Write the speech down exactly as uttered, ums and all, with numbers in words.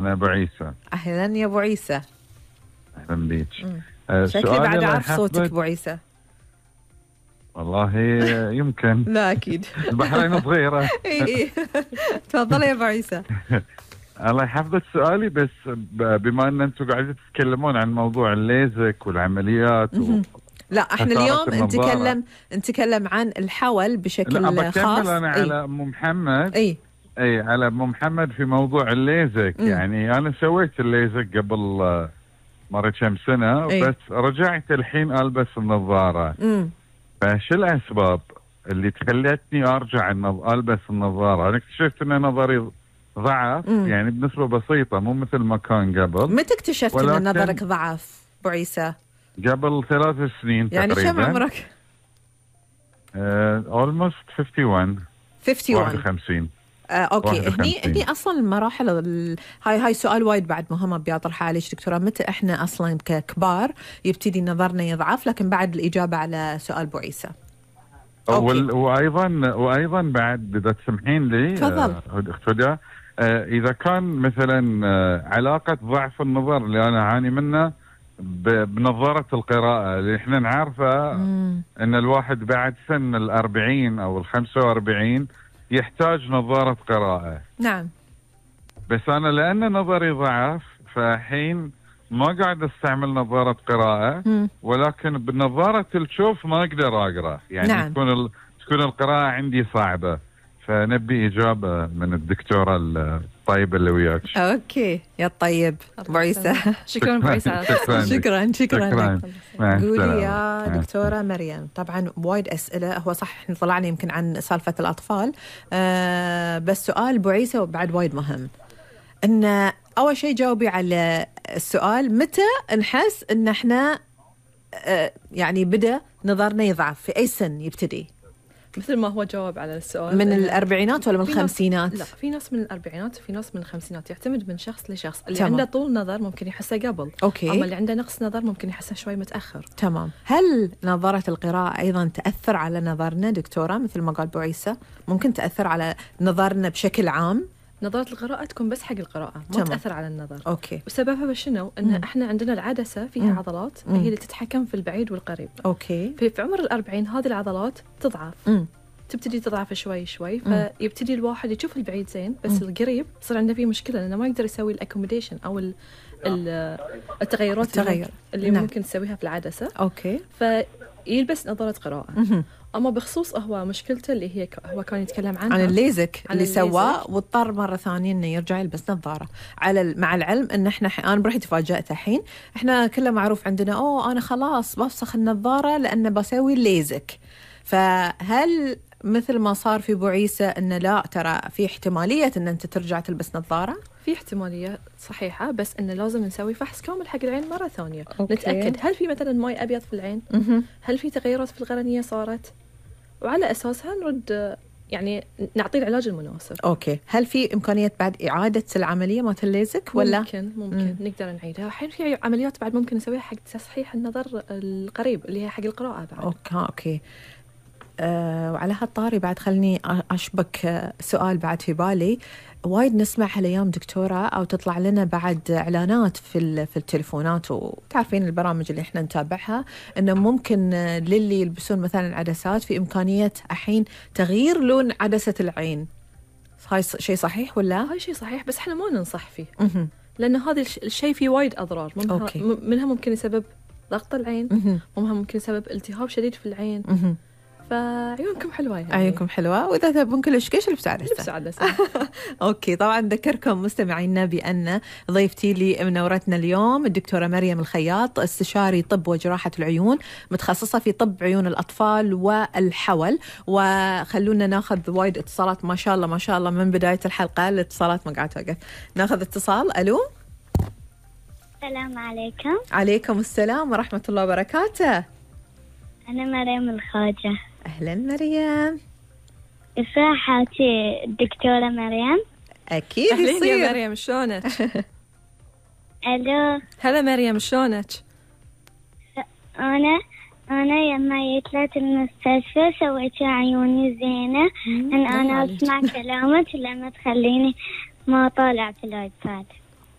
أنا أبو عيسى. أهلا يا أبو عيسى. أهلا بيك. أه شكلي بعد أعرف صوتك أبو عيسى. والله يمكن. لا أكيد. البحرين صغيرة. إي تفضل يا أبو عيسى. الله يحفظك سؤالي، بس بما أن أنتم قاعدين تتكلمون عن موضوع الليزك والعمليات و... لا احنا اليوم نتكلم نتكلم عن الحول بشكل لا خاص. أنا أي. على أم محمد. اي اي على ام محمد في موضوع الليزك. م. يعني انا سويت الليزك قبل مرة كم سنة. أي. بس رجعت الحين البس النظارة. م. فشو الاسباب اللي تخلتني ارجع البس النظارة؟ انا اكتشفت ان نظري ضعف. م. يعني بنسبة بسيطة، مو مثل ما كان قبل. متى اكتشفت ان نظرك ضعف ابو عيسى؟ قبل ثلاث سنين يعني تقريبا. كم عمرك؟ اولموست واحد وخمسين. واحد وخمسين. آه، اوكي. هني هني اصلا المراحل ال... هاي هاي سؤال وايد بعد مهم بيطرحه عليك دكتوره. متى احنا اصلا ككبار يبتدي نظرنا يضعف؟ لكن بعد الاجابه على سؤال ابو عيسى. وال... وايضا وايضا بعد اذا تسمحين لي تفضل اخت هدى، آه اذا كان مثلا آه علاقه ضعف النظر اللي انا اعاني منه بنظارة القراءة اللي احنا نعرفه ان الواحد بعد سن الأربعين او الخمسة وأربعين يحتاج نظارة قراءة. نعم. بس انا لان نظري ضعف فحين ما قاعد استعمل نظارة قراءة. مم. ولكن بنظارة الشوف ما اقدر اقرا. يعني نعم. تكون ال... تكون القراءة عندي صعبة. فنبي إجابة من الدكتورة الطيبة اللي وياك. أوكي يا الطيب أبو عيسى. شكرا أبو عيسى. شكرا شكرا, شكرا لك. قولي يا مع دكتورة مريم، طبعا وايد أسئلة. هو صح احنا طلعنا يمكن عن سالفة الأطفال، آه بس سؤال أبو عيسى وبعد وايد مهم. إن أول شيء جاوبي على السؤال، متى نحس إن احنا آه يعني بدأ نظرنا يضعف؟ في أي سن يبتدي؟ مثل ما هو جاوب على السؤال، من الأربعينات ولا من الخمسينات؟ لا، في ناس من الأربعينات وفي ناس من الخمسينات. يعتمد من شخص لشخص. اللي تمام. عنده طول نظر ممكن يحسه قبل. أوكي. أما اللي عنده نقص نظر ممكن يحسه شوي متأخر. تمام. هل نظارة القراءة أيضا تأثر على نظرنا دكتورة مثل ما قال أبو عيسى؟ ممكن تأثر على نظرنا بشكل عام؟ نظارة القراءة تكون بس حق القراءة، ما تمام. تأثر على النظر. أوكي. وسببها شنو؟ إن مم. إحنا عندنا العدسة فيها مم. عضلات مم. هي اللي تتحكم في البعيد والقريب. أوكي. في, في عمر الأربعين هذه العضلات تضعف. مم. تبتدي تضعف شوي شوي. فيبتدي الواحد يشوف البعيد زين بس مم. القريب يصير عنده فيه مشكلة لأنه ما يقدر يسوي الأكوموديشن أو ال التغيرات التغير. اللي نعم. ممكن تسويها في العدسة. أوكي. فيلبس نظارة قراءة. مم. أما بخصوص هو مشكلته اللي هي هو كان يتكلم عنها عن الليزك عن اللي سواه واضطر مرة ثانية إنه يرجع يلبس نظارة. على مع العلم إن إحنا أنا برحي تفاجأت الحين. إحنا كله معروف عندنا أوه أنا خلاص بفسخ النظارة لأن بسوي الليزك. فهل مثل ما صار في أبو عيسى إن لا ترى في احتمالية إن أنت ترجع تلبس نظارة؟ في احتمالية صحيحة، بس إنه لازم نسوي فحص كامل حق العين مرة ثانية. أوكي. نتأكد هل في مثلا ماي أبيض في العين؟ م-م. هل في تغيرات في القرنية صارت؟ وعلى أساسها نرد يعني نعطي العلاج المناسب. أوكي. هل في إمكانية بعد إعادة العملية مالت الليزك ولا؟ ممكن ممكن م. نقدر نعيدها. الحين في عمليات بعد ممكن نسويها حق تصحيح النظر القريب اللي هي حق القراءة بعد. أوكي أوكي. أه وعلى هالطاري بعد خلني أشبك سؤال بعد في بالي. وايد نسمع هالأيام دكتورة أو تطلع لنا بعد إعلانات في في التليفونات وتعرفين البرامج اللي إحنا نتابعها إنه ممكن للي يلبسون مثلا عدسات في إمكانية الحين تغيير لون عدسة العين. هاي شيء صحيح ولا؟ هاي شيء صحيح بس إحنا ما ننصح فيه. م- لأن هذا الشيء فيه وايد أضرار. منها, منها ممكن يسبب ضغط العين. م- منها ممكن يسبب التهاب شديد في العين. م- فعيونكم حلوة يعني. عيونكم حلوة وإذا تبون كل شيء البسوا عدسة. البسوا عدسة. أوكي. طبعا ذكركم مستمعينا بأن ضيفتي لي منورتنا اليوم الدكتورة مريم الخياط، استشاري طب وجراحة العيون، متخصصة في طب عيون الأطفال والحول. وخلونا ناخذ وايد اتصالات ما شاء الله ما شاء الله من بداية الحلقة. الاتصالات ما قاعد توقف. ناخذ اتصال. ألو. السلام عليكم. عليكم السلام ورحمة الله وبركاته. أنا مريم الخواجة. أهلا مريم. إصاحتي الدكتورة مريم. أكيد يصير. يا مريم شلونك؟ ألو. هلا مريم شلونك؟ أنا أنا لما جيت المستشفى سويت عيوني زينة. إن أنا أسمع كلامك لما تخليني ما طالع في الآيباد.